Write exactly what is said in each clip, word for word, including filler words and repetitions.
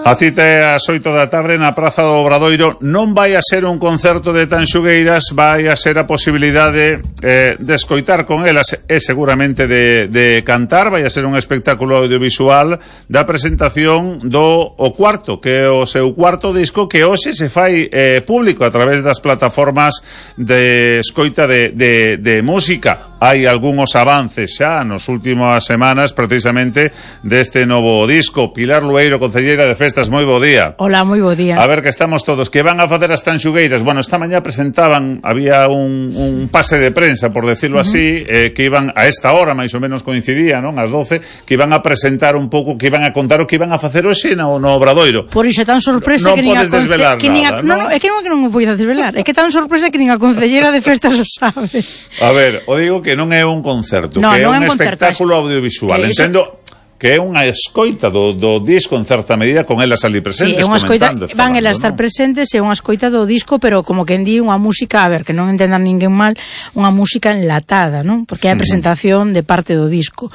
A cita é ás oito da tarde na Praza do Obradoiro. Non vai a ser un concerto de Tanxugueiras, vai a ser a posibilidade eh, de escoitar con elas e seguramente de, de cantar. Vai a ser un espectáculo audiovisual da presentación do o cuarto, que é o seu cuarto disco, que hoxe se fai eh, público a través das plataformas de escoita de, de, de música. Hai algúns avances xa nos últimas semanas precisamente deste novo disco. Pilar Lueiro, concelleira de Festas, moi bo día. Hola, moi bo día. A ver, que estamos todos, que van a facer as Tanxugueiras. Bueno, esta mañá presentaban, había un, un pase de prensa, por decirlo uh -huh. así, eh, que iban a esta hora, máis ou menos coincidía, non? Ás doce, que iban a presentar un pouco, que iban a contar o que iban a facer hoxe no, no Obradoiro. Por iso é tan sorpresa no, que nin a podes desvelar que nin a, nada, non, non, é que non, que non me podes desvelar, é que tan sorpresa que nin a concelleira de Festas o sabe. A ver, o digo que non é un concerto, no, que non é un, un espectáculo audiovisual. Que entendo eso... que é unha escoita do, do disco en certa medida con elas ali presentes. Sí, é unha escoita, van elas estar ¿no? presentes, é unha escoita do disco, pero como quen di, unha música, a ver, que non entendan ninguén mal, unha música enlatada, non? Porque é a presentación de parte do disco.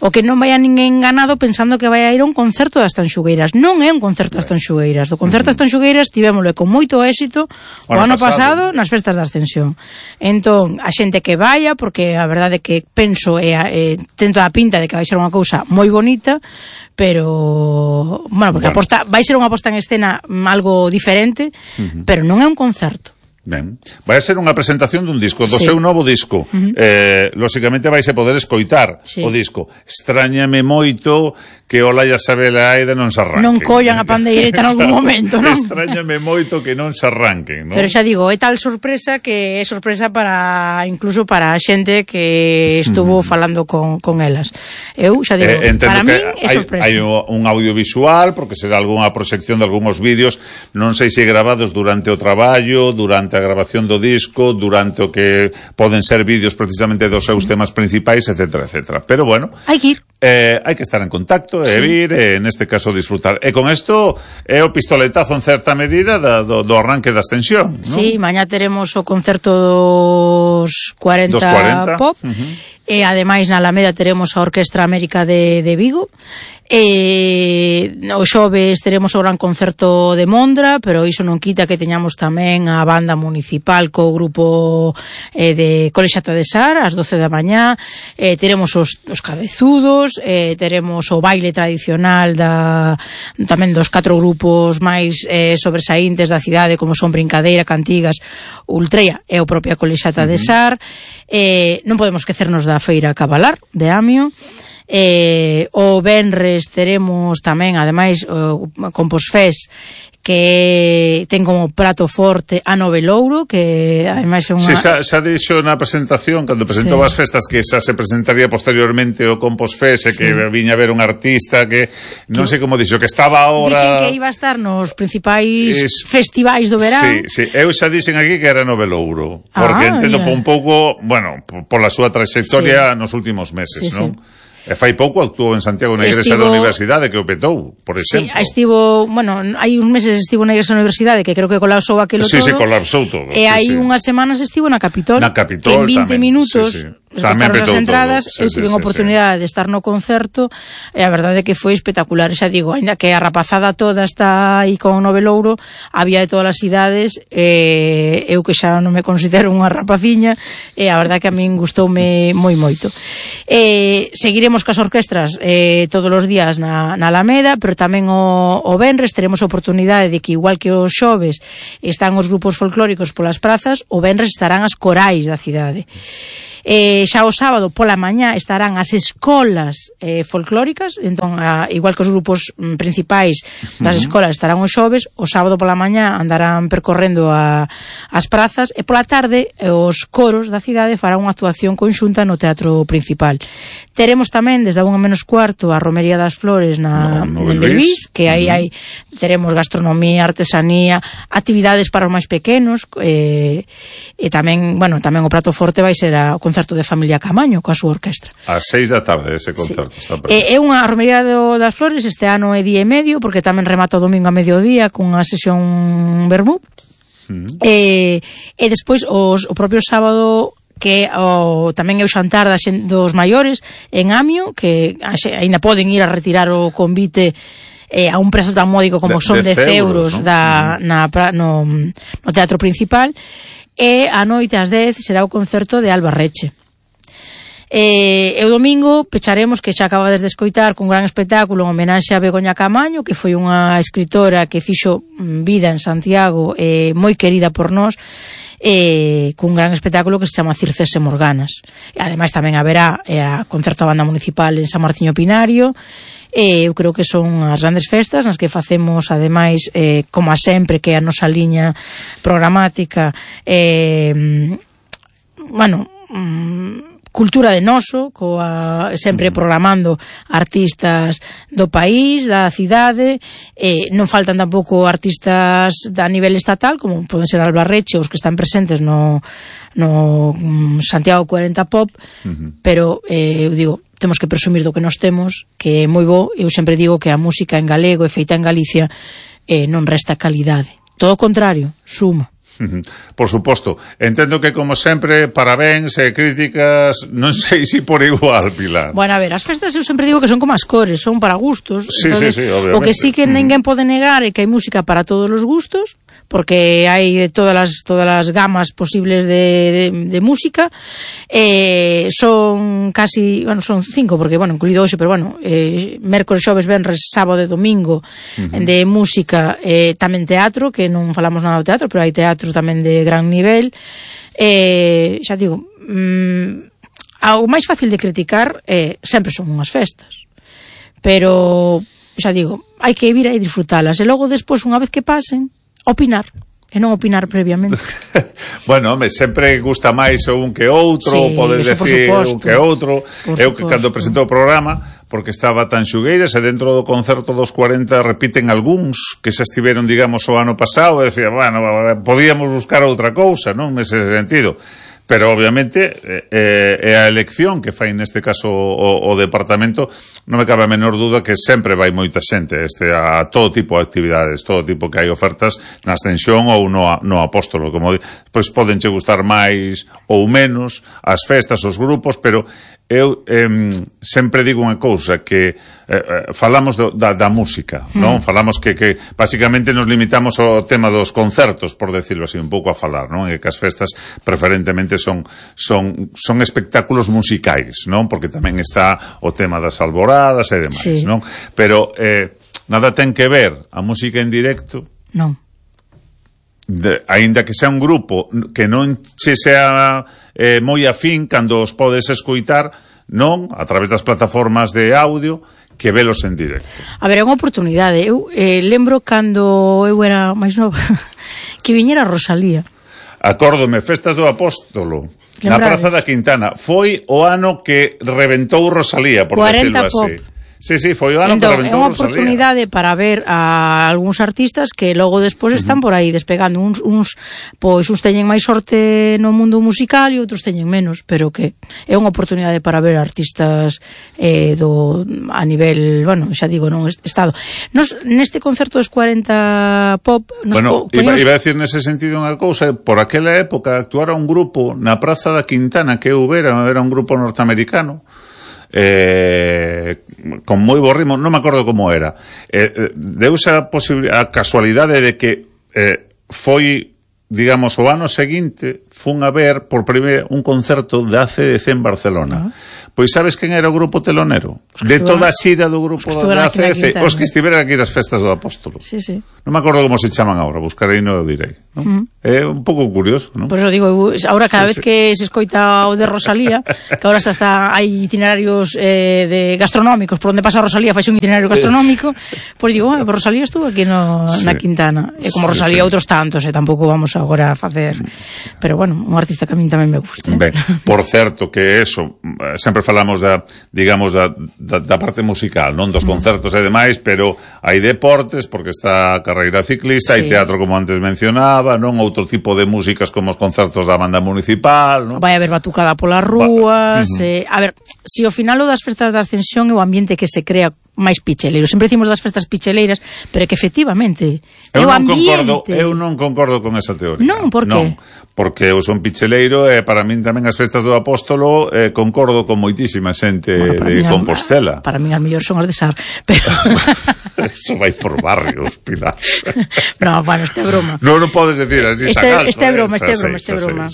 O que non vai a ninguén enganado pensando que vai a ir a un concerto das Tanxugueiras. Non é un concerto das Tanxugueiras. Do concerto das Tanxugueiras tivémoslo con moito éxito o ano pasado, pasado nas festas da Ascensión. Entón, a xente que vaya, porque a verdade que penso e eh, tento a pinta de que vai ser unha cousa moi bonita, pero bueno, porque bueno. Aposta, vai ser unha posta en escena algo diferente, uh -huh. pero non é un concerto. Ben. Vai ser unha presentación dun disco, do sí. seu novo disco. Uh -huh. eh, lóxicamente vais a poder escoitar sí. o disco. Extrañame moito que o Laia Sabela Aida non se arranquen. Non collan a pandeireta en algún momento, non? Extrañame moito que non se arranquen, non? Pero xa digo, é tal sorpresa que é sorpresa para, incluso para a xente que estuvo falando con, con elas. Eu xa digo, eh, para min é sorpresa. Hai un audiovisual, porque será algunha proxección de algúns vídeos, non sei se grabados durante o traballo, durante a grabación do disco, durante o que poden ser vídeos precisamente dos seus temas principais, etcétera, etcétera. Pero bueno, hai que ir. Eh, hai que estar en contacto e sí. vir, e neste caso disfrutar. E con isto é o pistoletazo en certa medida da, do, do arranque da Ascensión, non? Sí, mañá teremos o concerto dos cuarenta, dos cuarenta. Pop, uh -huh. e ademais na Alameda teremos a Orquestra América de, de Vigo. E o xoves teremos o gran concerto de Mondra, pero iso non quita que teñamos tamén a banda municipal co grupo eh, de Colexata de Sar ás doce da mañá, eh, teremos os, os cabezudos, eh, teremos o baile tradicional da, tamén dos catro grupos máis eh, sobresaíntes da cidade, como son Brincadeira, Cantigas, Ultreia e o propia Colexata uh -huh. de Sar. Eh, non podemos esquecernos da Feira Cabalar de Amio. Eh, o venres teremos tamén, ademais, o Composfest, que ten como prato forte a Novelouro, que ademais é unha... Si, xa, xa dixo na presentación, cando presentou sí. as festas, que xa se presentaría posteriormente o Composfest, sí. e que viña a ver un artista que, non sei como dixo, que estaba ahora... Dixen que iba a estar nos principais es... festivais do verán. Sí, sí, eu xa dixen aquí que era Novelouro, porque ah, entendo mira. un pouco, bueno, pola súa trayectoria sí. nos últimos meses, sí, non? Sí. E fai pouco actuou en Santiago na Igrexa estivo... da Universidade, que o petou, por exemplo. Sí, estivo, bueno, hai uns meses estivo na Igrexa da Universidade, que creo que colapsou aquilo sí, todo. Sí, sí, colapsou todo. E sí, hai sí. unhas semanas estivo na Capitol. Na Capitol, que en vinte tamén. minutos... Sí, sí. Esgotaron as entradas, sí, eu tive sí, a oportunidade sí. de estar no concerto e a verdade é que foi espectacular. Xa digo, ainda que a rapazada toda está aí con Novelouro, había de todas as idades, e eu que xa non me considero unha rapaciña, e a verdade que a min gustoume moi moito. E seguiremos cas orquestras eh, todos os días na, na Alameda, pero tamén o, o venres teremos a oportunidade de que, igual que os xoves están os grupos folclóricos polas prazas, o venres estarán as corais da cidade. Eh, xa o sábado pola mañá estarán as escolas eh, folclóricas, entón a, igual que os grupos mm, principais das uh-huh. escolas estarán os xoves, o sábado pola mañá andarán percorrendo a, as prazas, e pola tarde eh, os coros da cidade farán unha actuación conxunta no teatro principal. Teremos tamén desde a unha menos cuarto a Romería das Flores na, no, no Belvís, que aí uh-huh. hai teremos gastronomía, artesanía, actividades para os máis pequenos, eh, e tamén, bueno, tamén o prato forte vai ser a concerto de Familia Camaño coa súa orquestra. A seis da tarde ese concerto sí. está presente. É unha Romería do, das Flores, este ano é día e medio, porque tamén remata o domingo a mediodía con unha sesión vermú. Mm. E, e despois os, o propio sábado, que o, tamén é o xantar das, dos maiores en Amio, que aínda poden ir a retirar o convite eh, a un prezo tan módico como son dez euros, ¿no? da, na, no, no teatro principal, e a noite ás dez será o concerto de Alba Reche. Eh, e o domingo pecharemos, que xa acabades de escoitar, cun gran espectáculo en homenaxe a Begoña Camaño, que foi unha escritora que fixo vida en Santiago, eh, moi querida por nós, eh, cun gran espectáculo que se chama Circes e Morganas. E ademais tamén haberá eh, a concerto a banda municipal en San Martiño Pinario. Eh, eu creo que son as grandes festas nas que facemos, ademais, eh, como a sempre, que é a nosa liña programática, eh, bueno, mm, cultura de noso, coa, sempre programando artistas do país, da cidade, eh, non faltan tampouco artistas a nivel estatal, como poden ser Alba Reche, os que están presentes no, no um, Santiago cuarenta Pop, uh-huh. pero eh, eu digo, temos que presumir do que nos temos, que é moi bo. Eu sempre digo que a música en galego e feita en Galicia eh, non resta calidade, todo o contrario, suma. Por suposto, entendo que como sempre parabéns e críticas, non sei se por igual, Pilar. Bueno, a ver, as festas eu sempre digo que son como as cores, son para gustos. Sí, entonces, sí, sí, obviamente. O que sí que ninguén pode negar é que hai música para todos os gustos, porque hai de todas as todas as gamas posibles de, de, de música. Eh, son casi, bueno, son cinco, porque, bueno, incluído hoxe, pero, bueno, eh, mércoles, xoves, venres, sábado e domingo, uh-huh. de música, eh, tamén teatro, que non falamos nada do teatro, pero hai teatro tamén de gran nivel. Eh, xa digo, mm, algo máis fácil de criticar eh, sempre son unhas festas, pero, xa digo, hai que vir e disfrutalas, e logo despois, unha vez que pasen, opinar, e non opinar previamente. Bueno, me sempre gusta máis un que outro, sí, podes decir un que outro. Eu que cando presento o programa, porque estaba tan xugueiras, e dentro do concerto dos cuarenta repiten algúns que xa estiveron, digamos, o ano pasado, e decía, bueno, podíamos buscar outra cousa, non, nese sentido. Pero, obviamente, é eh, a elección que fai neste caso o, o departamento, non me cabe a menor duda que sempre vai moita xente este, a todo tipo de actividades, todo tipo que hai ofertas na Ascensión ou no, no Apóstolo, como pois podenche gustar máis ou menos as festas, os grupos, pero eu eh, sempre digo unha cousa, que eh, falamos do, da, da música, mm. non? Falamos que, que basicamente nos limitamos ao tema dos concertos, por decirlo así, un pouco a falar, non? E que as festas preferentemente son, son, son espectáculos musicais, non? Porque tamén está o tema das alboradas e demais, sí. non? Pero eh, nada ten que ver a música en directo, non. De, aínda que sea un grupo que non che sea eh, moi afín, cando os podes escoitar, non, a través das plataformas de audio, que velos en directo. A ver, é unha oportunidade. Eu eh, lembro cando eu era máis nova que viñera Rosalía. Acórdome, Festas do Apóstolo, na Praza da Quintana. Foi o ano que reventou Rosalía, por decirlo así. Sí, sí, foi o ano entón, que reventou Rosalía. É unha oportunidade para ver a algúns artistas que logo despois están uh-huh. por aí despegando. Uns, uns, pois, uns teñen máis sorte no mundo musical e outros teñen menos, pero que é unha oportunidade para ver artistas eh, do, a nivel, bueno, xa digo, non estado. Nos, neste concerto dos cuarenta Pop... Nos bueno, poñemos... iba, iba a decir nese sentido unha cousa, por aquela época actuara un grupo na Praza da Quintana que eu era, era un grupo norteamericano, Eh, con moi bo ritmo, non me acordo como era, eh, deuse a, a casualidade de que eh, foi, digamos, o ano seguinte fun a ver por primeiro un concerto de A C D C en Barcelona. Uh-huh. Pois sabes quen era o grupo telonero? De toda a xira do grupo de A C D C, os que estiveran aquí nas Festas do Apóstolo. Sí, sí. Non me acordo como se chaman agora, buscarei no direi, non? Uh-huh. É un pouco curioso, non? Por eso digo, agora cada sí, vez sí. que se escoita o de Rosalía, que agora está, está hai itinerarios eh, de gastronómicos, por onde pasa Rosalía faixe un itinerario gastronómico, pois digo, ah, Rosalía estuvo aquí no, sí. na Quintana. E como Rosalía sí, sí. outros tantos, e eh, tampouco vamos agora a facer, pero bueno, un artista que a min tamén me gusta. Eh? Ben, por certo que eso, sempre falamos da, digamos, da, da, da parte musical, non dos concertos e demais, pero hai deportes, porque está a carreira ciclista, sí. hai teatro, como antes mencionaba, non, outro tipo de músicas como os concertos da banda municipal, non? Vai haber batucada polas rúas, uh-huh. eh, a ver, si ao final o das festas da Ascensión é o ambiente que se crea máis picheleiro. Sempre dicimos das festas picheleiras, pero que efectivamente eu non concordo, eu non concordo con esa teoría. Non, por que? Non, porque eu son picheleiro e para min tamén as festas do Apóstolo eh, concordo con moitísima xente bueno, de Compostela. Para min as mellor son as de Sar, pero Eso vai por barrios, Pilar. No, bueno, este é broma. No, non podes decir así este, tan alto. Este é broma, este é broma, este é broma.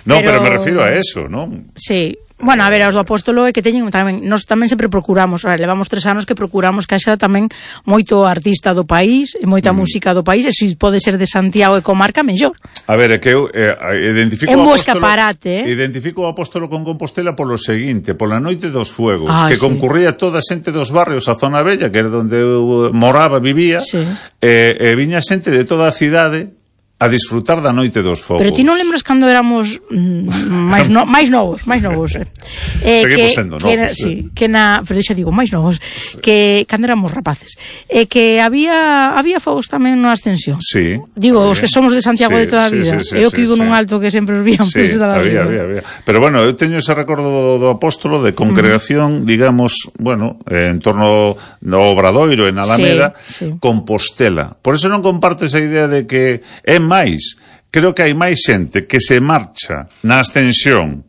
No, pero, pero me refiro a eso, non? Sí. Bueno, a ver, os do apóstolo é que teñen tamén, nós tamén sempre procuramos, a ver, levamos tres anos que procuramos que haxa tamén moito artista do país, e moita mm. música do país, e se pode ser de Santiago e comarca, mellor. A ver, é que eu eh, identifico en o apóstolo, escaparate, eh? identifico o apóstolo con Compostela polo seguinte, pola noite dos fuegos, ah, que sí. concurría toda a xente dos barrios, a zona bella, que era onde eu moraba, vivía, sí. e, e viña xente de toda a cidade a disfrutar da noite dos fogos. Pero ti non lembras cando éramos mm, máis, no, máis novos, máis novos. Eh, Seguimos que, sendo que novos. Na, sí, que na, pero xa digo, máis novos, sí. Que cando éramos rapaces. E eh, que había había fogos tamén na Ascensión. Sí. Digo, había. Os que somos de Santiago sí, de toda a vida. Sí, sí, sí, eu que vivo sí, nun sí. alto que sempre os víamos sí, desde a había, vida. había, había. Pero bueno, eu teño ese recordo do, do apóstolo de congregación, mm. digamos, bueno, en torno no Obradoiro, en Alameda, sí, sí. Compostela. Por eso non comparto esa idea de que é máis. Creo que hai máis xente que se marcha na Ascensión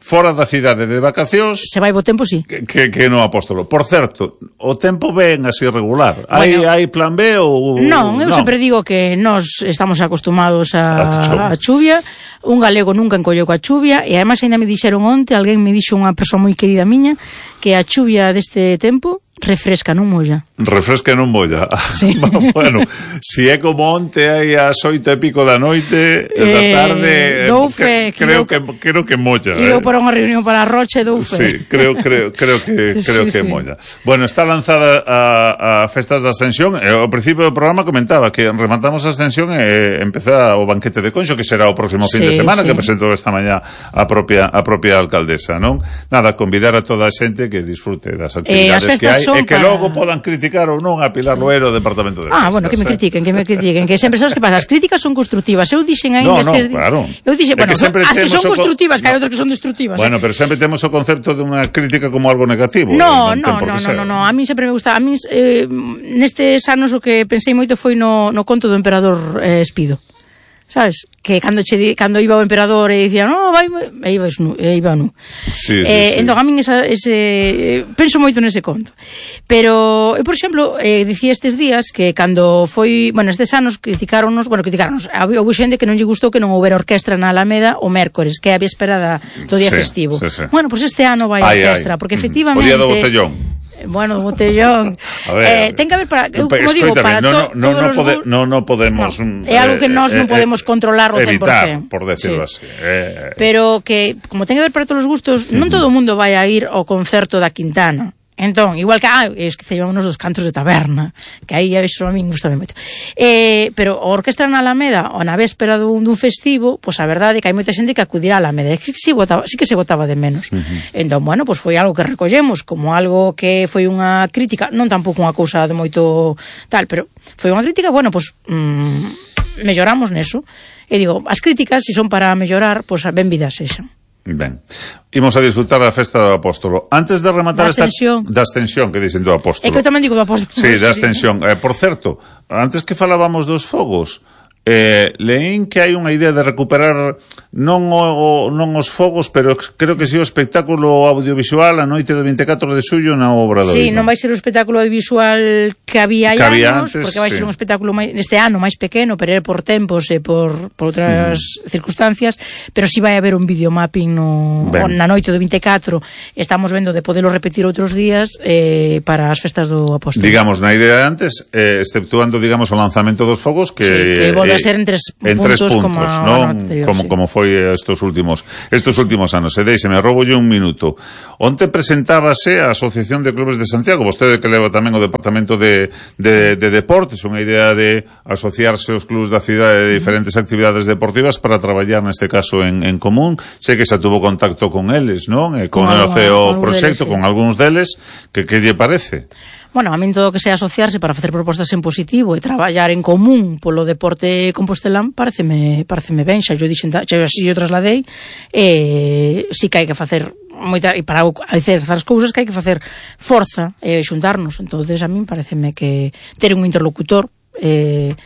fora da cidade de vacacións. Se vai bo tempo, sí. Que, que, que no apóstolo. Por certo, o tempo ven así regular. Hai, bueno, hai plan B ou... Non, eu non. sempre digo que nós estamos acostumados a, a chuvia. Un galego nunca encolleu coa chuvia, e además ainda me dixeron onte, alguén me dixo, unha persoa moi querida miña, que a chuvia deste tempo refresca, non molla. Refresca, non molla. Sí. Bueno, si é como onte hai as oito e pico da noite, eh, da tarde, dou fe, que, creo, que, creo que molla. E eu eh. para unha reunión para a Roche, dou fe. Sí, creo, creo, creo que, creo sí, que sí. molla. Bueno, está lanzada a, a Festas da Ascensión, e ao principio do programa comentaba que rematamos a Ascensión e empeza o banquete de Conxo, que será o próximo fin sí, de semana, sí. que presentou esta mañá a propia, a propia alcaldesa, non? Nada, convidar a toda a xente que disfrute das actividades eh, que hai, e que para... logo podan criticar ou non a Pilar Loero, o Departamento de Festas. Ah, bueno, que me critiquen, que me critiquen, que sempre sabes que pasa, as críticas son constructivas. Eu dixen aí no, nestes no, claro. Eu dixen, bueno, que as que son constructivas, co... que hai outras que son destructivas. Bueno, eh? pero sempre temos o concepto de unha crítica como algo negativo. No, no, no, no, no, no, a mí sempre me gusta, a mí eh, nestes anos o que pensei moito foi no, no conto do emperador eh, Espido. Sabes? Que cando che cando iba o emperador e dicía, "No, vai", e iba nu, e iba nu. Sí, sí, eh, sí. Entón a min esa, ese penso moito nese conto. Pero eu, por exemplo, eh, dicía estes días que cando foi, bueno, estes anos criticáronos, bueno, criticáronos, había xente que non lle gustou que non houbera orquestra na Alameda o mércores, que é a véspera da, do día sí, festivo. Sí, sí. Bueno, pois pues este ano vai a orquestra, porque efectivamente o día do botellón. Bueno, botellón. A ver, eh, ten que haber para, eu, como digo, para no, to, no, no, todos pode, os... no, no podemos... No, é algo que nós eh, non podemos eh, controlar o cen por cen. Evitar, por decirlo sí. así. Eh, Pero que, como ten que ver para todos os gustos, uh-huh. non todo o mundo vai a ir ao concerto da Quintana. Entón, igual que, ah, esquecíamos dos cantos de taberna, que aí eso a mí gusta moito. Eh, pero a orquestra na Alameda, ou na véspera dun, dun festivo, pois a verdade é que hai moita xente que acudirá á Alameda, e que sí, botaba, sí que se botaba de menos. Uh-huh. Entón, bueno, pois foi algo que recollemos, como algo que foi unha crítica, non tampouco unha cousa de moito tal, pero foi unha crítica, bueno, pois mmm, melloramos neso. E digo, as críticas, se son para mellorar, pois ben vidas sexan. Ben, imos a disfrutar da festa do apóstolo. Antes de rematar da esta... ascensión. Da ascensión, que dicen do apóstolo. É que eu tamén digo do apóstolo. Sí, da ascensión. Eh, por certo, antes que falábamos dos fogos, eh, leín que hai unha idea de recuperar non, o, non os fogos, pero creo que si o espectáculo audiovisual a noite do vinte e catro de xullo na Obradoiro. Sí, non vai ser o espectáculo audiovisual que había hai anos, antes, porque vai sí. ser un espectáculo máis, este ano máis pequeno, pero é por tempos e por, por outras mm. circunstancias, pero si sí vai haber un videomapping no, na noite do vinte e catro. Estamos vendo de podelo repetir outros días eh, para as festas do apóstolo. Digamos, na idea de antes, eh, exceptuando, digamos, o lanzamento dos fogos, que... Sí, que volve a ser en tres en puntos, tres puntos, como, non? Anterior, como, sí. como foi estos últimos estos últimos anos. E deixeme, roubolle un minuto. Onte presentábase a Asociación de Clubes de Santiago, vostede que leva tamén o Departamento de, de, de Deportes, unha idea de asociarse os clubes da cidade de diferentes actividades deportivas para traballar neste caso en, en común. Sei que xa tuvo contacto con eles, non? E con, con o C E O proxecto, deles, sí. con algúns deles, que que lle parece? Bueno, a min todo que sea asociarse para facer propostas en positivo e traballar en común polo deporte compostelán pareceme, pareceme ben, xa yo dixen, xa yo así yo trasladei, e si que hai que facer moita, e para hacer as cousas que hai que facer forza e xuntarnos, entonces a min pareceme que ter un interlocutor eh,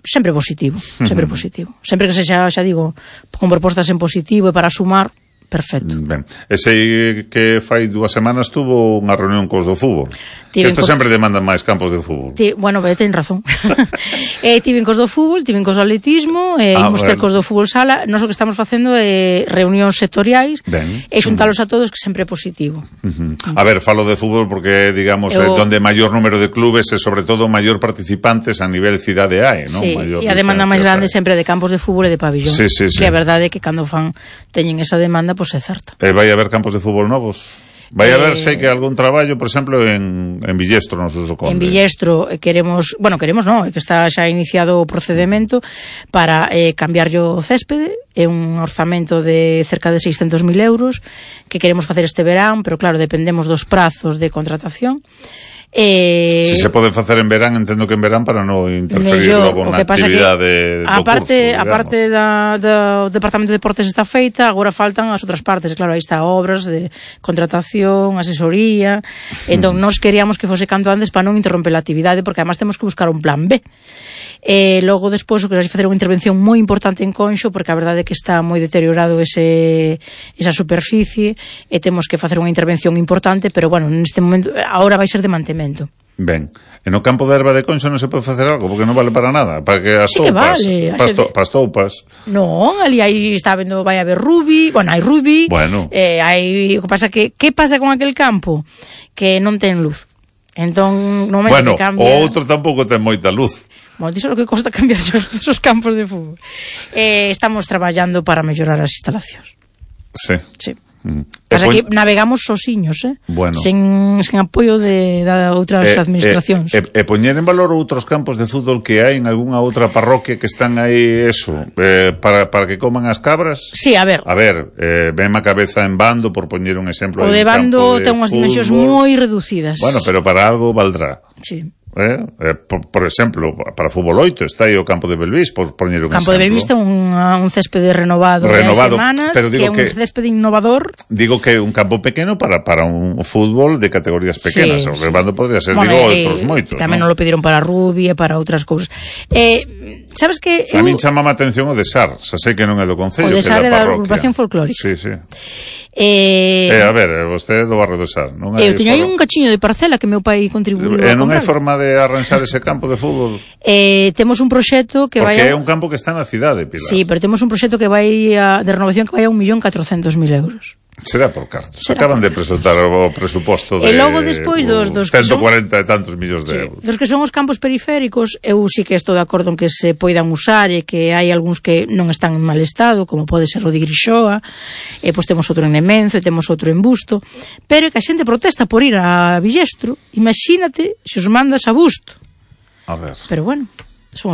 sempre positivo, sempre uh-huh. positivo, sempre que se xa, xa digo, con propostas en positivo e para sumar, perfecto. Ben, e sei que fai dúas semanas tuvo unha reunión cos do fútbol. Tiven Isto co... sempre demandan máis campos de fútbol. Ti... Bueno, ben, ten razón. eh, tiven cos do fútbol, tiven cos do atletismo, e eh, ah, imos bueno. ter cos do fútbol sala. Nós o que estamos facendo é eh, reunións sectoriais ben. e xuntalos uh -huh. a todos, que sempre é positivo. Uh -huh. A ver, falo de fútbol porque, digamos, Eu... é donde maior número de clubes e, sobre todo, maior participantes a nivel cidade hai, non? Sí, Maior e a demanda máis grande hai. sempre de campos de fútbol e de pabellón. Sí, sí, sí. Que a verdade é que cando fan teñen esa demanda, pois pues é certa. E vai haber campos de fútbol novos? Vai eh, haber, sei que algún traballo, por exemplo, en, en Villestro, nos uso conde. En Villestro queremos, bueno, queremos non, é que está xa iniciado o procedimento para eh, cambiar o céspede, é un orzamento de cerca de seiscentos mil euros que queremos facer este verán, pero claro, dependemos dos prazos de contratación. Eh, si se pode facer en verán, entendo que en verán para non interferir logo na actividade do curso, digamos. A parte da, do Departamento de Deportes está feita, agora faltan as outras partes, claro, aí está obras de contratación, asesoría, entón nós queríamos que fose canto antes para non interromper a actividade, porque además temos que buscar un plan B. E logo despois o que vai facer unha intervención moi importante en Conxo, porque a verdade é que está moi deteriorado ese, esa superficie, e temos que facer unha intervención importante, pero bueno, neste momento, agora vai ser de mantemento. Ben, e no campo de erva de Conxo non se pode facer algo, porque non vale para nada, para que as sí toupas, que vale, para as, to, de... toupas. Non, ali aí está vendo, vai haber rugby, bueno, hai rugby, bueno. eh, hai, o que pasa que, que pasa con aquel campo? Que non ten luz. Entón, no momento bueno, que cambia... o outro tampouco ten moita luz. Bueno, diso o que costa cambiar esos campos de fútbol. Eh, estamos traballando para mellorar as instalacións. Sí. Sí. Mm. Pasa pon... que navegamos sosiños, eh? Bueno. Sen, sen apoio de da outras eh, administracións. E eh, eh, poñer en valor outros campos de fútbol que hai en algunha outra parroquia que están aí, eso, eh, para, para que coman as cabras? Sí, a ver. A ver, eh, ven a cabeza en Bando, por poñer un exemplo. O de Bando ten unhas dimensións moi reducidas. Bueno, pero para algo valdrá. Sí. Eh? Eh, por, por exemplo, para fútbol oito está aí o campo de Belvís, por poñer un campo exemplo. de Belvís ten un, un céspede renovado, renovado de semanas, pero digo que é un que, céspede innovador. Digo que é un campo pequeno para, para un fútbol de categorías pequenas. Sí, o Rebando sí. podría ser, bueno, digo, eh, outros moitos. Tamén non lo pediron para rugby e para outras cousas. Eh, sabes que... A eu... min chamama a atención o de Sar, xa sei que non é do Concello, o de que Sar é da agrupación folclórica. Sí, sí. Eh, eh, a ver, vostede do barrio do Sar, non hai? Eu teño aí un cachiño de parcela que meu pai contribuiu a comprar. E non hai forma de arranxar ese campo de fútbol? Eh, temos un proxecto que vai... Porque a... é un campo que está na cidade, Pilar. Sí, pero temos un proxecto que vai a, de renovación que vai a un millón catrocentos mil euros. Será por cartos. Será Acaban por... de presentar o presuposto de... E logo despois dos... dos ciento cuarenta e tantos millóns de sí, euros. Dos que son os campos periféricos, eu sí que estou de acordo en que se poidan usar e que hai algúns que non están en mal estado, como pode ser o de Grixoa, e pois temos outro en Nemenzo, e temos outro en Busto, pero que a xente protesta por ir a Villestro, imagínate se os mandas a Busto. A ver. Pero bueno...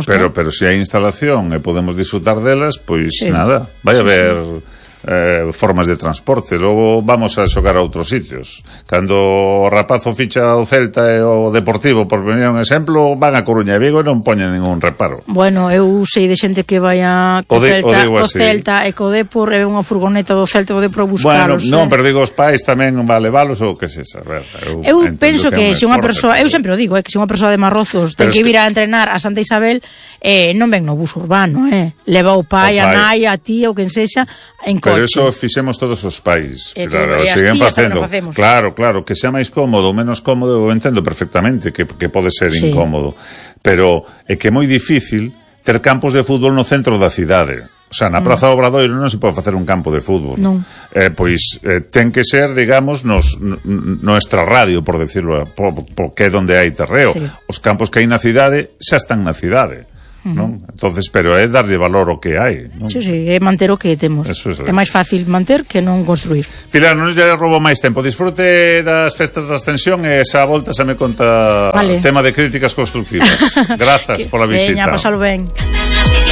Pero, pero se hai instalación e podemos disfrutar delas, pois sí. nada, vai sí, haber... Sí. Eh, formas de transporte. Logo vamos a xogar a outros sitios. Cando o rapazo ficha o Celta e o Deportivo, por poñer un exemplo, van a Coruña e Vigo e non poñen ningún reparo. Bueno, eu sei de xente que vai a co de, Celta, o Celta e co Depor e unha furgoneta do Celta o Depor a buscaros. Bueno, non, eh. pero digo, os pais tamén va a levalos ou que se saber. Eu, eu penso que, que se unha persoa, eu sempre o digo, eh, que se unha persoa de Marrozos ten que vir a entrenar a Santa Isabel, eh, non ven no bus urbano, eh. Leva o pai, o pai. a nai, a tía, ou quen sexa, en coche. Pero eso fixemos todos os pais. E claro, e as tías tamén o facemos. Claro, claro, que sea máis cómodo ou menos cómodo, eu entendo perfectamente que, que pode ser sí. incómodo. Pero é que é moi difícil ter campos de fútbol no centro da cidade. O sea, na Praza do Obradoiro non se pode facer un campo de fútbol. Non. Eh, pois eh, ten que ser, digamos, nos, no extrarradio, por decirlo, porque é donde hai terreo. Sí. Os campos que hai na cidade xa están na cidade. Non? Entonces, pero é darlle valor ao que hai, non? Sí, sí, é manter o que temos. Eso é, é máis fácil manter que non construir. Pilar, non lle roubo máis tempo. Disfrute das festas da Ascensión e esa volta xa me conta vale. o tema de críticas constructivas. Grazas pola visita. Veña, pasalo ben.